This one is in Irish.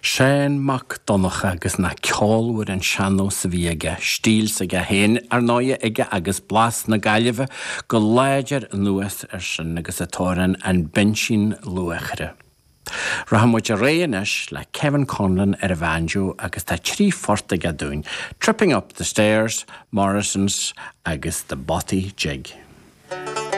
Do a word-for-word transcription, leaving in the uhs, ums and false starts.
Seán Mac Donncha agus na ceolmhar an sean-nós a bhí aige, stíl s'aige féin ar ndóigh aige agus blas na Gaillimhe go láidir anuas ar sin agus an t-amhrán An Binsín Luachra. Rachaidh muid ar aghaidh anois le Kevin Conlon ar an bhanjo agus tá trí phort aige dúinn, Tripping Up the Stairs, Morrison's agus The Bothy Jig.